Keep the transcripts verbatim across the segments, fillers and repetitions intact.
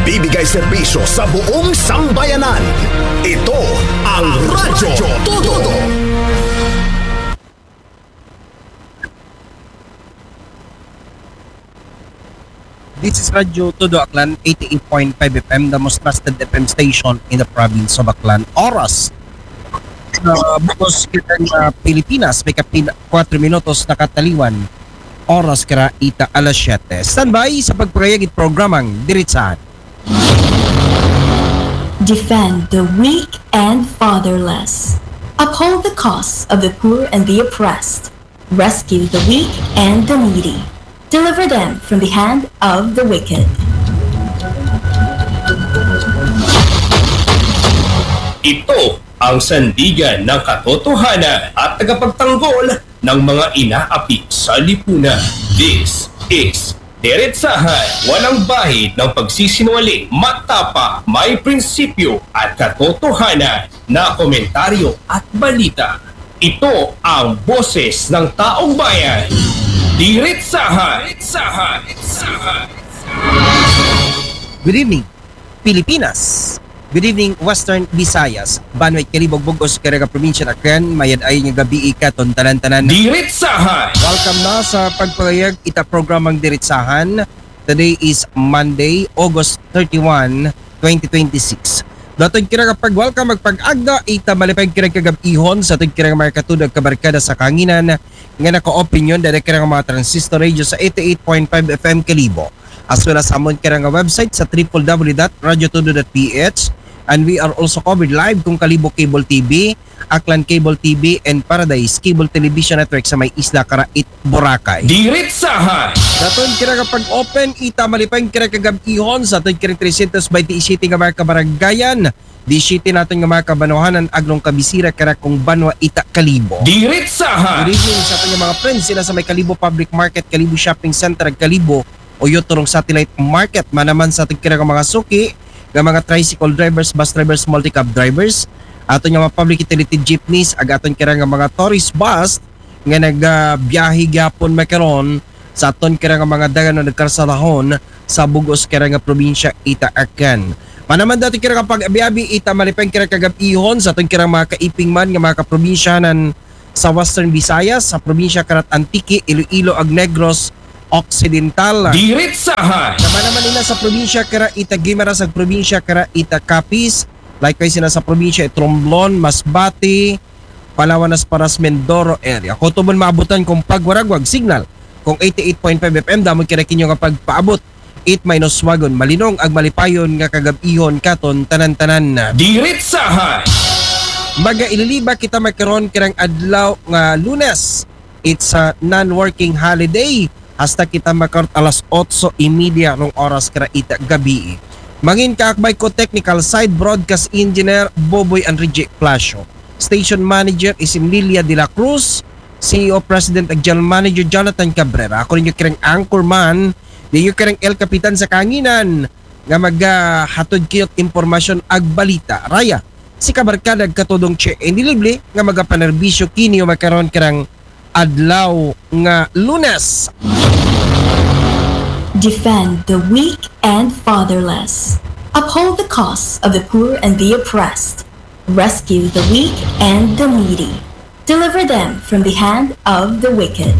Bibigay serbisyo sa buong sambayanan. Ito ang Radyo Todo. This is Radyo Todo Aklan, eighty-eight point five F M, the most trusted F M station in the province of Aklan. Oras sa bugos kita nga Pilipinas, may kapin kuwatro minutos nakataliwan. Oras kara ita alas siyete. Standby sa pagpangayag it programang Diritsahan. Defend the weak and fatherless. Uphold the cause of the poor and the oppressed. Rescue the weak and the needy. Deliver them from the hand of the wicked. Ito ang sandigan ng katotohanan at tagapagtanggol ng mga inaapi sa lipunan. This is Diretsahan, walang bahid ng pagsisinungaling, matapang, may prinsipyo at katotohanan na komentaryo at balita. Ito ang boses ng taong bayan. Diretsahan. Diretsahan. Diretsahan. Good evening, Pilipinas. Good evening, Western Visayas. Banwa it Kalibo, bug-os kara nga probinsya, Aklan. Mayad-ayon nga gabii katon tanan-tanan. Diretsahan. Welcome na sa pagpangayag ita programang Diretsahan. Today is Monday, August thirty-one, twenty twenty-six. Daton kara nga pag-welcome, magpag-agda ita malipay kara kagab-ihon sa aton kara nga mga katudo ag kabarkada sa kahanginan nga naka-opinion dada kara nga mga transistor radio sa eighty-eight point five F M Kalibo, as well as amon kara nga website sa triple W dot radyo todo dot P H. And we are also covered live kung Kalibo Cable T V, Aklan Cable T V, and Paradise Cable Television Network sa may isla kara it Boracay. Diretsahan. Daton kara nga pag-open ita malipay kara kagab-ihon sa aton kara trescientos veintisiete nga mga kabarangayan, disiete naton nga mga kabanwahanan, aglong kabisira kara kung banwa ita Kalibo. Diretsahan. Good evening sa aton nga mga friends sila sa may Kalibo Public Market, Kalibo Shopping Center, ag Kalibo Oyo Turong Satellite Market. Manaman sa aton kara nga mga suki nga mga tricycle drivers, bus drivers, multicab drivers, aton nga mga public utility jeepneys, ag aton kara nga mga tourist bus nga nagabiyahe gyapon makaron sa aton kara nga mga dalan o nagkarsadahon sa bug-os kara nga probinsya ita Aklan. Manaman daton kara nga pag-abi-abi ita malipay kara kagab-ihon sa aton kara mga kaipingman nga mga kaprobinsyanan sa Western Visayas, sa probinsya kara it Antique, Iloilo, ag Negros Occidental. Diretsahan. Manaman nila sa probinsya kara ita Guimaras ag probinsya kara ita Capiz, likewise sila sa probinsya it Romblon, Masbate, Palawan, Nasparas, Mindoro area. Kung tuod man maabutan kung pagwaragwag signal kung eighty-eight point five F M, damo kara kinyo nga pagpaabot it mainoswagon, malinong ag malipayon nga kagab-ihon katon tanan-tanan. Diretsahan. Magaililiba kita makaron karang adlaw nga Lunes. It's a non-working holiday. Hasta kita makaron alas otso y media rong oras kara ita gabii. Mangin kaakbay ko technical side, broadcast engineer Boboy Enrique Plasio. Station manager is Emilia de la Cruz. C E O President ag General Manager Jonathan Cabrera. Ako ninyo karang anchorman, ninyo karang El Capitan sa kahanginan nga magahatod kiyot impormasyon ag balita. Raya, si kabarkada ag katudong Che Enilible nga magapanerbisyo kinyo makaron karang adlaw nga Lunes. Defend the weak and fatherless. Uphold the cause of the poor and the oppressed. Rescue the weak and the needy. Deliver them from the hand of the wicked.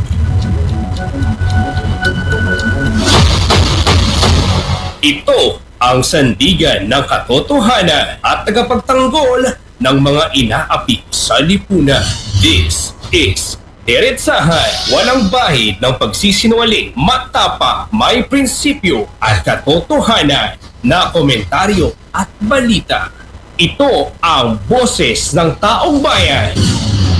Ito ang sandigan ng katotohanan at tagapagtanggol ng mga inaapi sa lipunan. This is Diretsahan, walang bahid ng pagsisinungaling, matapang, may prinsipyo at katotohanan na komentaryo at balita. Ito ang boses ng taong bayan.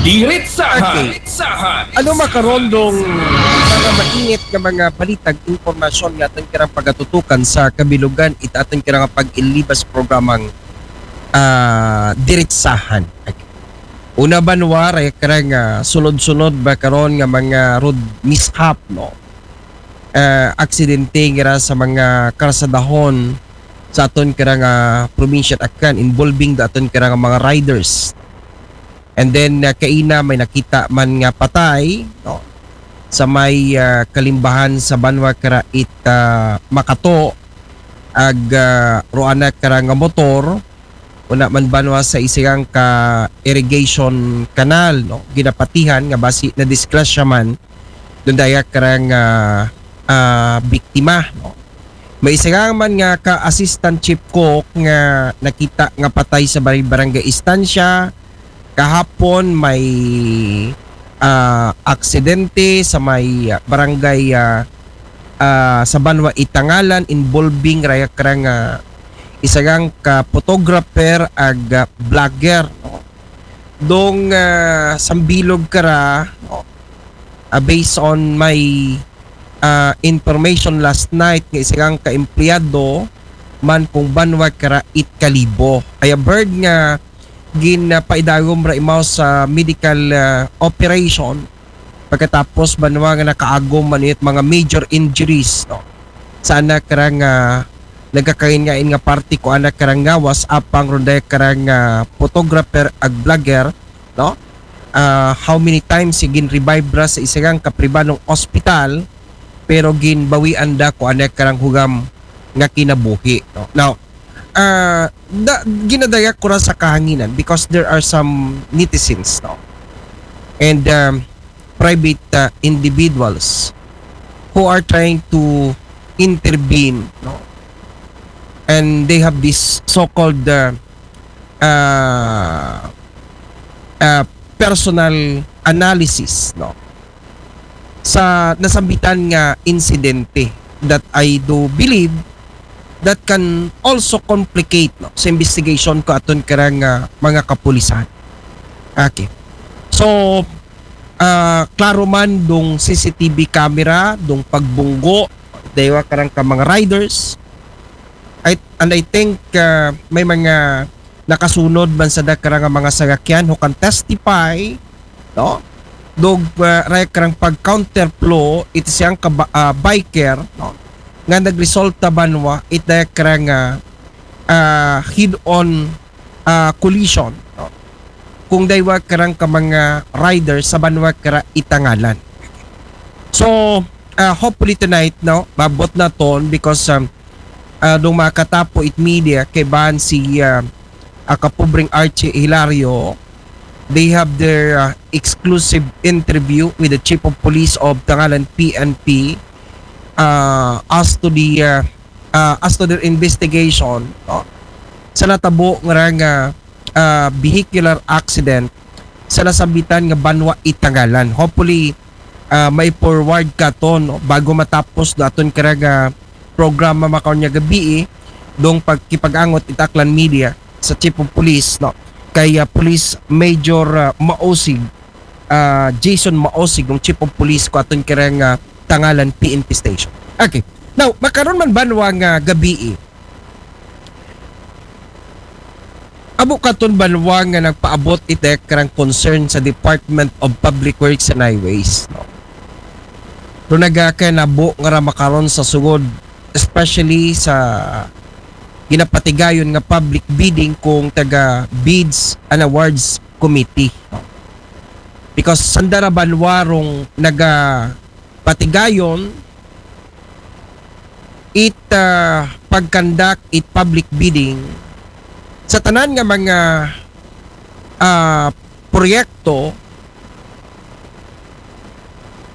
Diretsahan. Okay. Diretsahan. Ano makaron dong mga mainit nga mga balita ag impormasyon nga aton karang pagatutukan sa kabilugan ita aton karang pag-iliba sa programang, ah, Diretsahan? Okay. Una, banwa, raya karang, ah, sunod-sunod ba karon nga mga road mishap, no? Ah, aksidente ngira sa mga karsadahon sa aton karang, ah, probinsya Aklan involving da aton karang mga riders. And then, ah, kaina may nakita man nga patay, no? Sa may, ah, kalimbahan sa banwa kara it, ah, Makato, ag ah, ro ana kara nga motor, una man banwa sa isang ka irrigation canal, no? Ginapatihan nga basi na disgrasya man dun daya kara nga ah, biktima, no? May isa man nga ka assistant chief cook nga nakita nga patay sa barangay Estancia. Kahapon may ah, aksidente sa may ah, barangay ah, ah, sa Banwa Itangalan involving raya kara nga isang ka photographer ag ah, vlogger, no? Dong ah, sambilog kara, no? Ah, based on my ah, information last night nga isang ka empleyado man kung banwa kara it kalibo. Ay a bird nga ginapaidagom ra imaw sa medical ah, operation pagkatapos banwa nga nakaagom man it mga major injuries, no? Sa anak ra nga nagkakain-ngain nga parte ko anak karang ngawas apang ronday karang ah, photographer ag vlogger, no? Ah, how many times sigin revive ra sa isang kapribanong ospital pero ginbawian da ko anak karang hugam nga kinabuhi, no? Now, ah, da, ginadayak ko ra sa kahanginan because there are some netizens, no? And um, private uh, individuals who are trying to intervene, no? And they have this so-called uh, uh, uh, personal analysis, no? Sa nasambitan nga insidente that I do believe that can also complicate, no, sa investigation ko aton karang uh, mga kapulisan. Okay. So, ah, klaro man dong C C T V camera, dong pagbunggo, daywa karang ka mga riders. I, and I think ah, may mga nakasunod man sa dakara nga mga sasakyan who can testify, no? Dog uh, raya karang pag counterflow it siyang ka ah, biker, no? Nga nagresulta banwa it daya karang ah, ah, head-on ah, collision, no? Kung daywa karang ka mga rider sa banwa kara Itangalan. So, ah, hopefully tonight, no, mabot na ton because um, ah, nung makatapo it media kay ban si ah, ah, kapobreng Archie Hilario, they have their ah, exclusive interview with the chief of police of Tangalan P N P ah, as to the ah, ah, as to their investigation, no? Sa natabo nga ra nga ah, vehicular accident sa nasambitan nga banwa Itangalan. Hopefully, ah, may forward ka to, no? Bago matapos do aton karang ah, programa makaon nga gabi, eh, dong pagkipag-angot it Aklan Media sa Chief of Police, no? Kay ah, Police Major ah, Maosig, ah, Jason Maosig, ang Chief of Police ko aton karang ah, Tangalan P N P station. Okay. Now, makaron man banwa nga gabi, eh, abo katon banwa nga nagpaabot it daya karang concern sa Department of Public Works and Highways, no? Pero nagakanabo nga ra makaron sa sugod, especially sa ginapatigayon nga public bidding kung taga Bids and Awards Committee, no? Because sanda ra banwa rong nagapatigayon it ah, pag-conduct it public bidding sa tanan nga mga ah, proyekto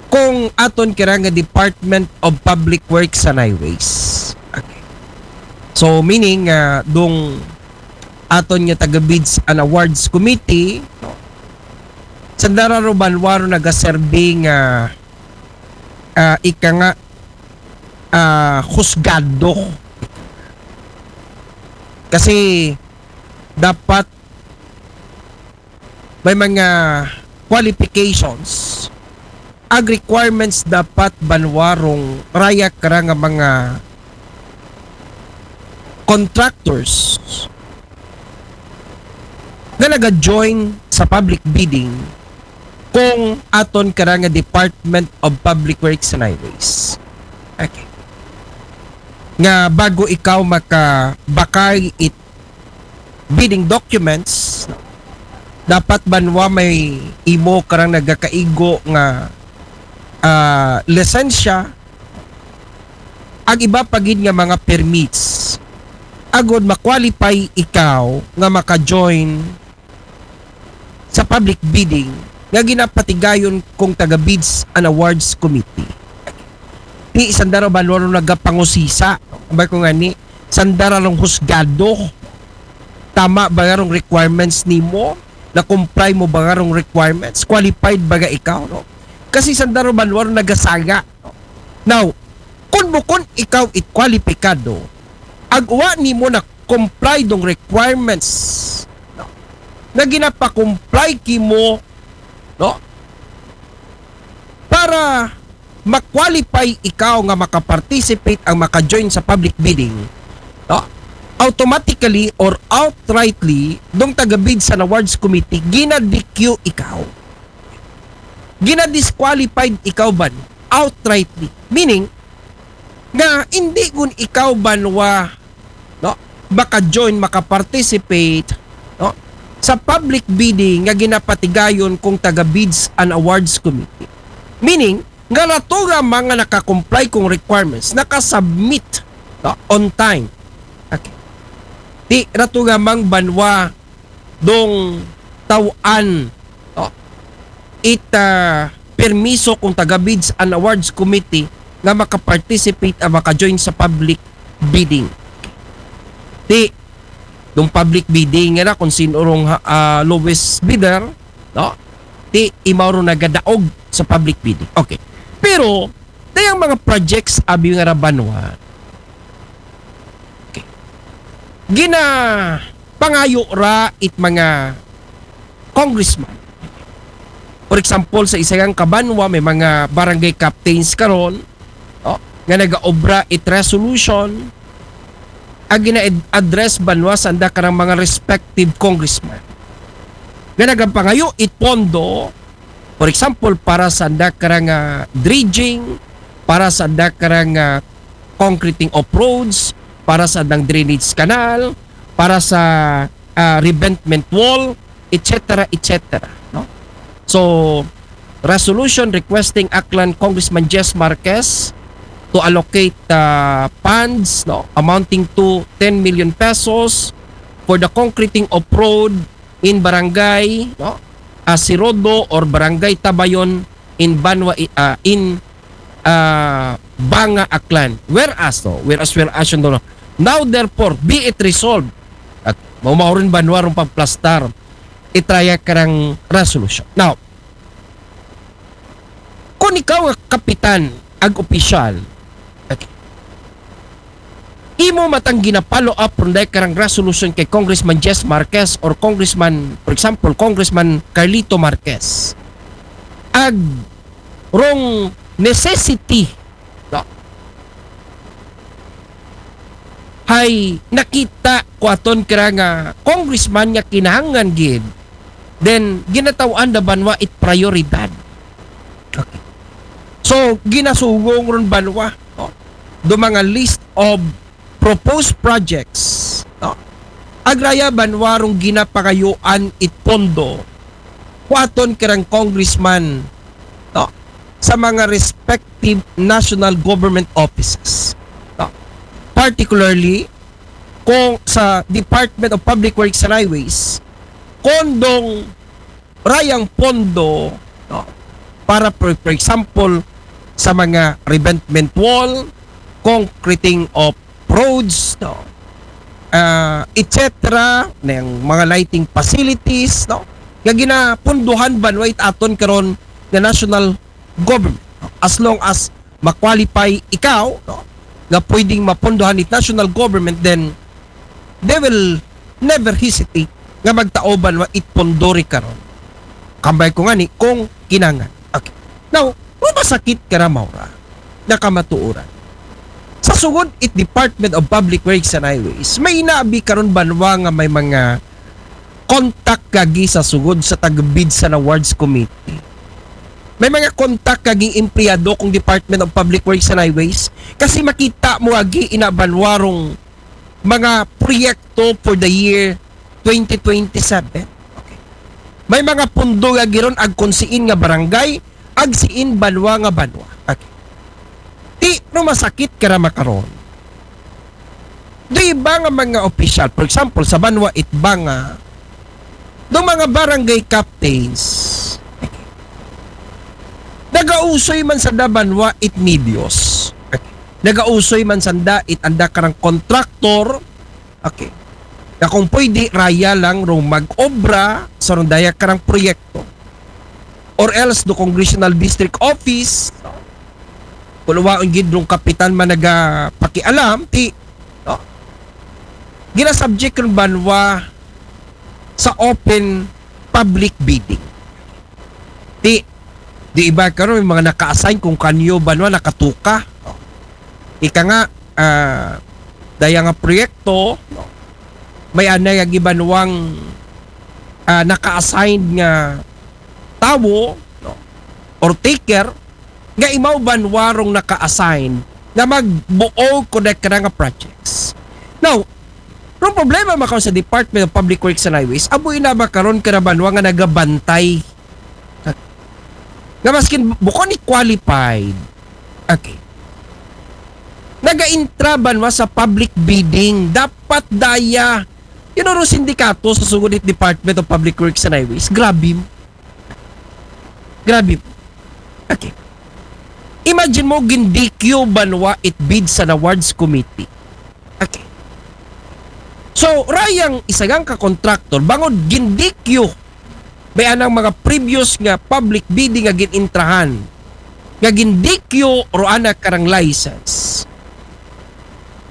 kung aton kira nga Department of Public Works and Highways. Okay. So meaning ah, dong aton nga taga Bids and Awards Committee, no? Sanda ra ro banwa ro nagaserbi nga ah, ika nga ah, husgado. Kasi dapat may mga qualifications ag requirements dapat banwa rong raya kara nga mga contractors nga naga-join sa public bidding kung aton kara nga Department of Public Works and Highways. Okay. Nga bago ikaw makabakay it bidding documents, dapat banwa may imo karang nagakaigo nga ah, lisensya, ag iba pa gid nga mga permits. agod ma-qualify ikaw nga maka-join sa public bidding nga ginapatigayon kung taga Bids and Awards Committee. Ti sanda ra ba nagapangusisa? Ambay ko ngani, sanda ra rong husgado. Tama ba nga rong requirements nimo? Na-comply mo ba nga rong requirements? Qualified ba nga ikaw, no? Kasi sanda ra ba nagasanga? Now, kung bukon ikaw it kwalipikado, ag wa nimo na-comply dong requirements, no? Na ginapakomply kimo, no? Para ma-qualify ikaw nga maka-participate ang maka-join sa public bidding, no? Automatically or outrightly, dong taga Bids and Awards Committee, gina-D Q ikaw. Gina-disqualified ikaw ban outrightly. Meaning, nga hindi gun ikaw banwa, no, maka-join, maka-participate, no, sa public bidding nga ginapatigayon kung taga Bids and Awards Committee. Meaning, nga rato nga mga naka-comply kung requirements, naka-submit, no, on time. Okay. Ti rato nga mang banwa dong taw-an, no, it ah, permiso kung taga Bids and Awards Committee nga maka-participate at maka-join sa public bidding. Ti, dong public bidding nga na kung sino rong ah, lowest bidder, no? Ti, imaw ro nagadaog sa public bidding. Okay. Pero, dayang mga projects abi nga ra banwa, okay, ginapangayo ra it mga congressman. For example, sa isa nga kabanwa, may mga barangay captains karon, no, nga nagaobra it resolution, ag gina-address banwa sanda karang mga respective congressman. Nga nagapangayo it pondo, for example, para sanda karang ah, dredging, para sanda karang ah, concreting of roads, para sandang drainage canal, para sa ah, revetment wall, et cetera, et cetera, no? So, resolution requesting Aklan Congressman Jess Marquez to allocate ah, funds, no, amounting to ten million pesos for the concreting of road in barangay, no, Asirodo or barangay Tabayon in Banwa, ah, in ah, Banga, Aklan. Whereas, no, whereas, whereas, yun, no, now therefore, be it resolved. At mao, mao rin banwa rong pagplastar, itraya karang resolution. Now, kung ikaw nga kapitan ag opisyal, okay, imo matang gina-follow up ron dahil karang resolution kay Congressman Jess Marquez or Congressman, for example, Congressman Carlito Marquez, ag rong necessity, no, hay nakita ko aton kira nga congressman nga kinahanglan gid, then ginataw-an da banwa it prioridad. Okay. So, ginasugong ron banwa, no, do mga list of proposed projects, no, agraya banwa rong ginapangayuan it pondo kuaton karang congressman, no, sa mga respective national government offices, no? Particularly kung sa Department of Public Works and Highways, kondong rayang pondo, no, para, for, for example, sa mga revetment wall, concreting of roads, no, ah, et cetera, ng mga lighting facilities, no, nga ginapunduhan banwa it aton karon nga national government, no? As long as ma-qualify ikaw, no, nga pwedeng mapunduhan it national government, then they will never hesitate nga magtao banwa it pondo ri karon. Kambay ko ngani kung kinangan. Okay. Now, masakit kara, Maura, nga kamatuoran. Sa sugod it Department of Public Works and Highways, may naabi karon banwa nga may mga contact kagi sa sugod sa taga Bids and Awards Committee. May mga contact kaging empleyado kung Department of Public Works and Highways kasi makita mo agi ina banwa rong mga proyekto for the year twenty twenty-seven. Okay. May mga pundo nga giron ag kung siin nga barangay, ag siin banwa nga banwa. Okay. Ti, no, masakit kara makaron. Do iba nga mga opisyal, for example, sa banwa Itbanga, do mga barangay captains, nagausoy man sanda banwa it medios. Nagausoy man sanda it anda karang kontraktor. Okay. Na kung pwede, raya lang rong mag-obra sa rong daya karang proyekto. Or else, do congressional district office, kung waon gid rong kapitan man nagapakialam, ti, no? Ginasubject rong banwa sa open public bidding. Ti, di iba karon may mga naka-assign kung kanyo banwa nakatuka. Ika nga, ah, daya nga proyekto, no? May anay nga gibanwang, ah, naka-assign nga tawo, no? Or taker, nga imaw banwa rong naka-assign nga magbuo ko na nga projects. Now, rong problema makaw sa Department of Public Works and Highways, abo ina ba karon ka na banwa nga nagabantay? Nga maskin bukon ni qualified. Okay. Naga-intra banwa sa public bidding. Dapat daya. Yun ang sindikato sa sugod it Department of Public Works and Highways. Grabe. Grabe. Okay. Imagine mo, gin-D Q banwa it bids and awards committee. Okay. So, rayang isagang ka contractor, bangod gin-D Q, may anang mga previous nga public bidding nga gin-intrahan, nga gin-D Q ro anak karang license.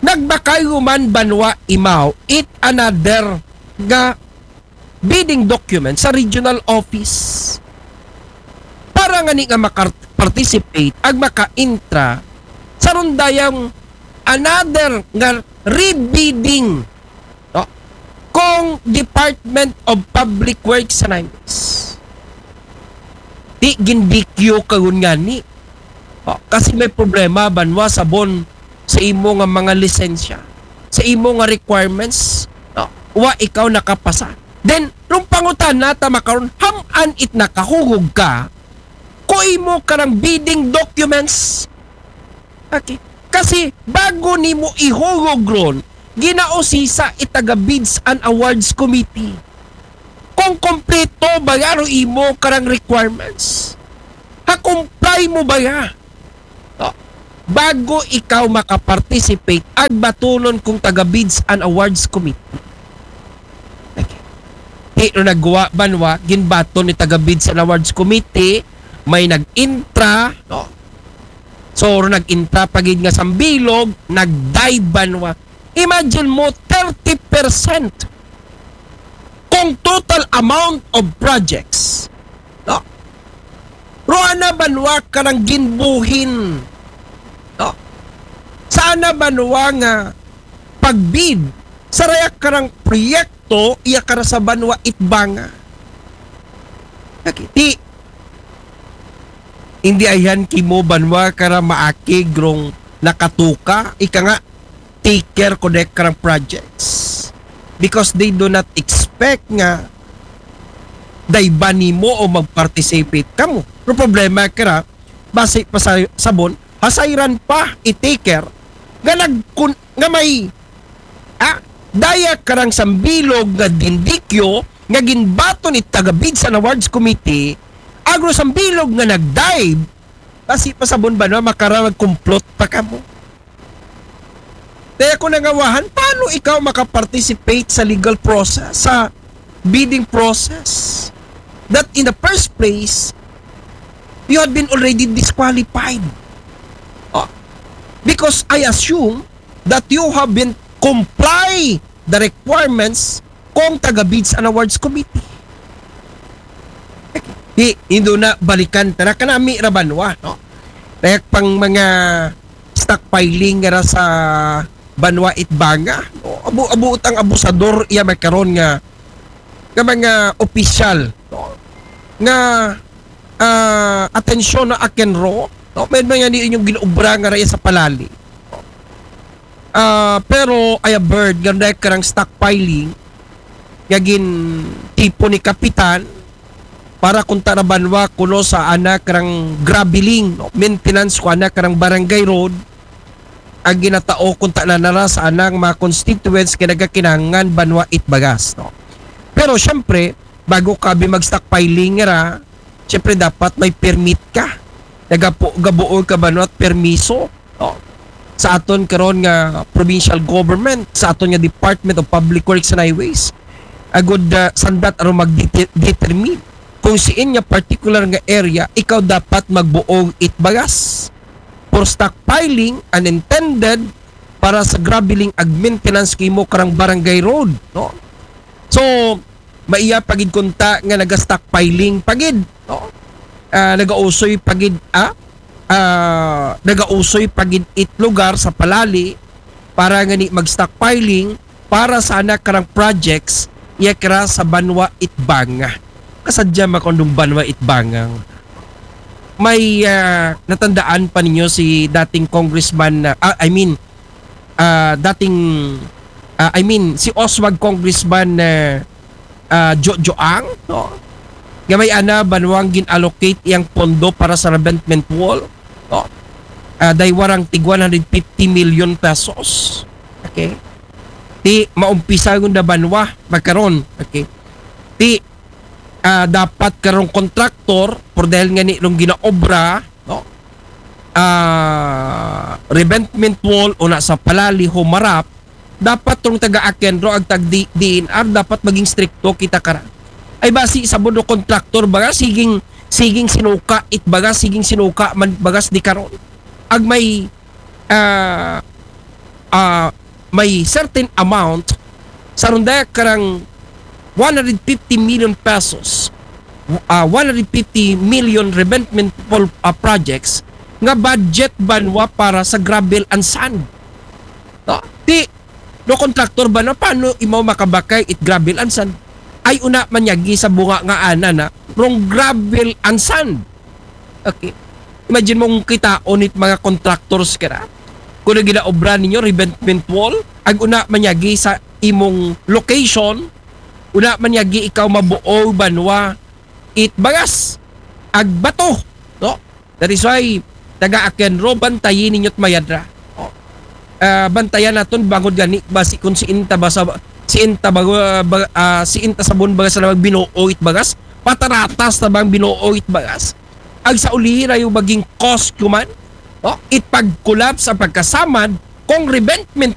Nagbakay man banwa imaw, it another nga bidding document sa regional office. Para nga ni nga maka-participate ag maka-intra sa rondayang another nga rebidding, no? Kung Department of Public Works and Highways. Di gin-D Q kagun nga ni. Oh, kasi may problema banwa sabon sa imo nga mga lisensya, sa imo nga requirements, no? Wa ikaw nakapasa. Then, rong pangutana ta makaron, ham-an it nakahugog ka ko imo karang bidding documents. Okay. Kasi bago nimo ihugog ron, ginausisa it taga Bids and Awards Committee kung kompleto ba ya ro imo karang requirements. Ha, comply mo ba ya? No. Bago ikaw makaparticipate, ag batunon kung taga Bids and Awards Committee. Okay. Di no nagwa banwa, ginbaton ni taga Bids and Awards Committee, may nag-intra, no? So, ro nag-intra pa gid nga sambilog, nag-dive banwa. Imagine mo, thirty percent kung total amount of projects, no? Ro ana banwa karang ginbuhin, no? Sa ana banwa nga pagbid sa raya karang proyekto, iya kara sa banwa Itbanga. Nakiti, hindi ayan kimo banwa kara maakig rong nakatuka, ika nga, taker ko dek karang projects. Because they do not expect nga dayban nimo o mag-participate kamo. Pero problema kara, basi pa sa sabon, hasayran pa i-taker nga nagkun-, nga may, ah, daya karang sambilog nga gin-D Q nga ginbaton it taga Bids and Awards Committee, ag ro sambilog nga nag-dive, basi pa sabon banwa makara magkumplot pa kamo. Kaya ko nangawahan, paano ikaw makaparticipate sa legal process, sa bidding process, that in the first place, you had been already disqualified? Oh, because I assume that you have been comply the requirements kung taga Bids and Awards Committee. Di, indo na balikan ta na kanami ra banwa, no? Kaya pang mga stockpiling nga ra sa banwa Itbanga, no? Abu-, abuot ang abusador iya may karon nga, nga mga opisyal, no? Nga, ah, atensyon na akin ro, no? May mga ni inyong ginobra nga raya sa palali. Ah, pero I have heard nga dahil karang stockpiling nga gin tipo ni Kapitan para kung tarabanwa kuno sa anak karang graveling, no? Maintenance ko anak karang barangay road. ang ginatao kung ta nanara sa anang mga constituents kay nagakinahanglan banwa it bagas, no? Pero syempre, bago ka bi mag-stockpiling ra, syempre dapat may permit ka. Nagapo, gabuo ka banwa it permiso, no? Sa aton karon nga provincial government, sa aton nga Department of Public Works and Highways. Agud uh, sandat aron mag-determine kung siin nga particular nga area ikaw dapat magbuog it bagas for stockpiling unintended para sa graveling ag maintenance kimo karang barangay road, no? So, maiya pagid kunta nga naga-stockpiling pagid, no? Ah, nagausoy pagid, ah? Ah, nagausoy pagid it lugar sa Palali para nga ni mag-stockpiling para sana karang projects iya kira sa banwa it banga. Kasadya makondong banwa it banga. May ah, natandaan pa ninyo si dating congressman, ah, ah, I mean, ah, dating, ah, I mean, si Oswald Congressman ah, ah, Jo Joang, no? Nga may ana banwang gin-allocate iyang pondo para sa revetment wall, no? Ah, daywa rang tig one hundred fifty million pesos. Okay? Ti maumpisa gud na banwa magkaron. Okay? Ti ah, dapat karong kontraktor, por dahil nga ni rong ginaobra, no? Ah, revetment wall una sa Palali, humarap, dapat rong taga-ACENRO ag tag D-, D N R dapat maging strikto kita kara. Ay basi sa bundo kontraktor baga siging, siging sinuka it baga, siging sinuka man bagas di karon. Ag may ah, ah, may certain amount sa rondaya karang one hundred fifty million pesos, ah, one hundred fifty million revetment pol-, ah, projects nga budget banwa para sa gravel and sand. No? Ti, no contractor ba na, paano imaw makabakay it gravel and sand? Ay una manyagi sa bunga nga ana na, rong gravel and sand. Okay. Imagine mo kung kitaon it mga contractors kara. Kung na ginaobra ninyo, revetment wall, ag una manyagi sa imong location, una manyagi ikaw mabuo banwa it bagas, ag bato, no? That is why, taga-ACENRO, bantayin ninyo't mayadra. Oh. Ah, bantayan naton bangod gani, basi kung siin ta ba sa, siin ta ba, ba, ah, siin ta sabon bagas na magbinuo it bagas, pataratas na bang binuo it bagas. Ag sa ulihi rayo maging cause kuman, no? It pag-collapse ang pagkasamad kung revetment